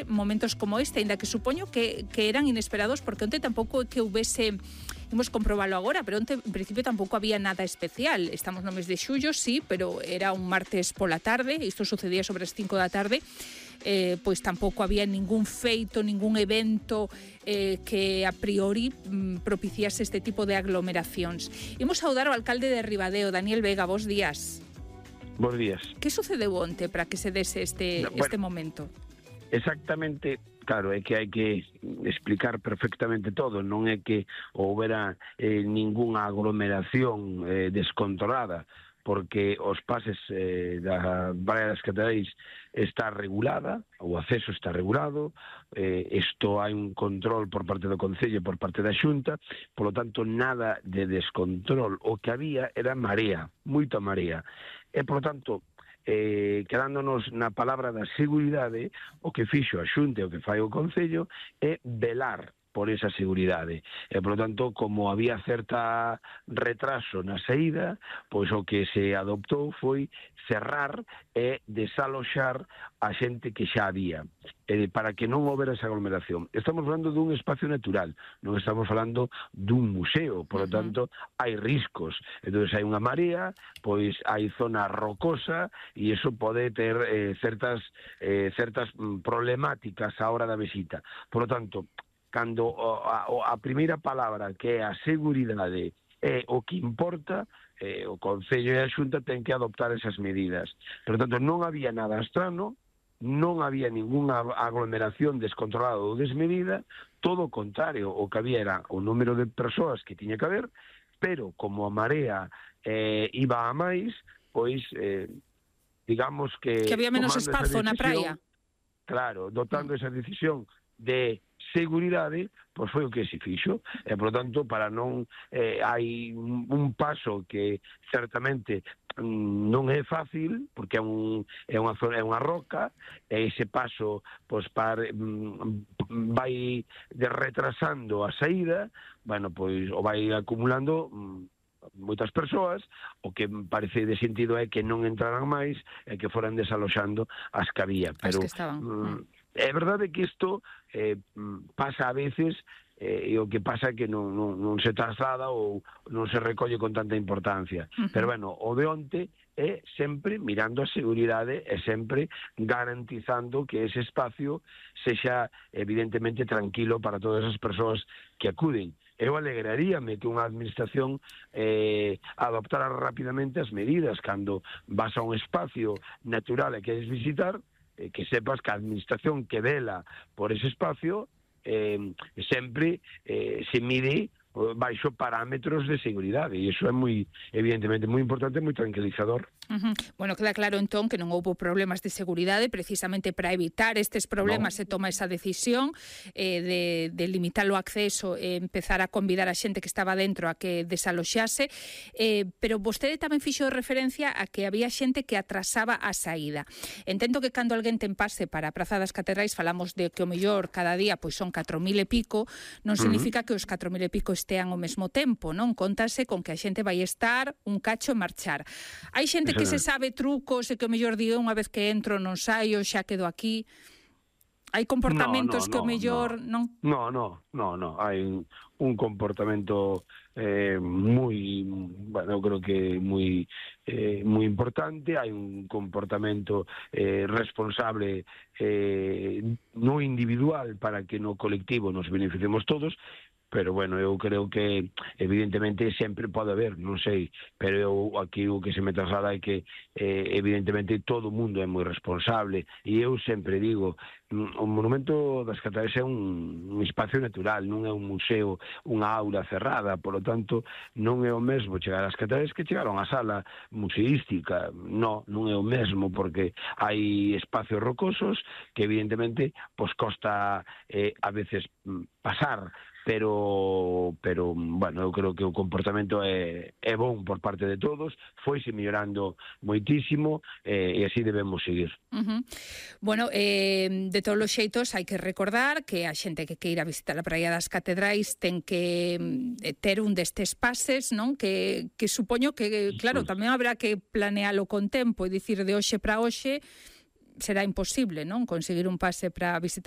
momentos como este, ainda que supoño que eran inesperados, porque onte tampouco é que houvese, imos comprobalo agora, pero onte en principio tampouco había nada especial. Estamos no mes de xullo, sí, pero era un martes pola tarde, isto sucedía sobre as 5 da tarde, pois tampouco había ningún feito, ningún evento que a priori propiciase este tipo de aglomeracións. Imos saudar ao alcalde de Ribadeo, Daniel Vega, bos días. Bos días. Que sucedeu onte para que se dese este momento? Exactamente, claro, é que hai que explicar perfectamente todo, non é que houbera ningunha aglomeración descontrolada, porque os pases da Praia das Catedrais está regulada, o acceso está regulado, isto hai un control por parte do Concello e por parte da Xunta, polo tanto nada de descontrol, o que había era marea, moita marea, e polo tanto quedándonos na palabra da seguridade, o que fixo a Xunta e o que fai o Concello é velar por esa seguridade. E, por lo tanto, como había certa retraso na saída, pois o que se adoptou foi cerrar e desaloxar a xente que xa había, para que non houbera esa aglomeración. Estamos falando dun espacio natural, non estamos falando dun museo, por lo tanto, hai riscos. Entón, hai unha marea, pois hai zona rocosa, e iso pode ter certas problemáticas á hora da visita. Por lo tanto, cando a primeira palabra, que é a seguridade, é o que importa, o Concello e a Xunta ten que adoptar esas medidas. Por tanto, non había nada estrano, non había ninguna aglomeración descontrolada ou desmedida, todo o contrario, o que había era o número de persoas que tiña que haber, pero como a marea iba a máis, pois digamos que había menos espazo na praia. Claro, dotando esa decisión de seguridade, pois foi o que se fixo, e, por tanto, para non hai un paso que certamente non é fácil, porque é unha roca, e ese paso pois vai retrasando a saída, bueno, pois o vai acumulando moitas persoas. O que parece de sentido é que non entraran máis e que foran desaloxando as que había, pero as que estaban. É verdade que isto pasa a veces, e o que pasa é que non se traslada ou non se recolle con tanta importancia. Pero, bueno, o de onte é sempre mirando a seguridade e sempre garantizando que ese espacio sexa evidentemente tranquilo para todas as persoas que acuden. Eu alegraríame que unha administración adoptara rapidamente as medidas cando vas a un espacio natural e queres visitar, que sepas que a administración que vela por ese espacio sempre se mide baixo parámetros de seguridade, e iso é moi, evidentemente, moi importante e moi tranquilizador. Bueno, queda claro entón que non houbo problemas de seguridade, precisamente para evitar estes problemas se toma esa decisión de limitar o acceso e empezar a convidar a xente que estaba dentro a que desaloxase, pero vostede tamén fixo referencia a que había xente que atrasaba a saída. Entendo que cando alguén ten pase para a Praza das Catedrais falamos de que o mellor cada día pois son 4.000 e pico, non significa que os 4.000 e pico estean ao mesmo tempo, non? Contase con que a xente vai estar un cacho e marchar. Hai xente que se sabe trucos e que o mellor digo unha vez que entro non saio, xa quedo aquí. Hai comportamentos que o mellor non? No, hai un comportamento moi, bueno, eu creo que moi importante, hai un comportamento responsable no individual para que no colectivo nos beneficiemos todos. Pero, bueno, eu creo que evidentemente sempre pode haber, non sei, pero eu aquí o que se me traslada é que evidentemente todo o mundo é moi responsable, e eu sempre digo, o Monumento das Catedrais é un espacio natural, non é un museo, unha aula cerrada, polo tanto non é o mesmo chegar ás Catedrais que chegar a unha sala museística. Non é o mesmo, porque hai espacios rocosos que evidentemente pois costa a veces pasar, pero bueno, eu creo que o comportamento é bon por parte de todos, foise mellorando moitísimo, e así debemos seguir. Bueno, de todos os xeitos hai que recordar que a xente que queira visitar a Praia das Catedrais ten que ter un destes pases, non? Que supoño que, claro, tamén habrá que planealo con tempo, e dicir de hoxe para hoxe será imposible, non? Conseguir un pase para visitar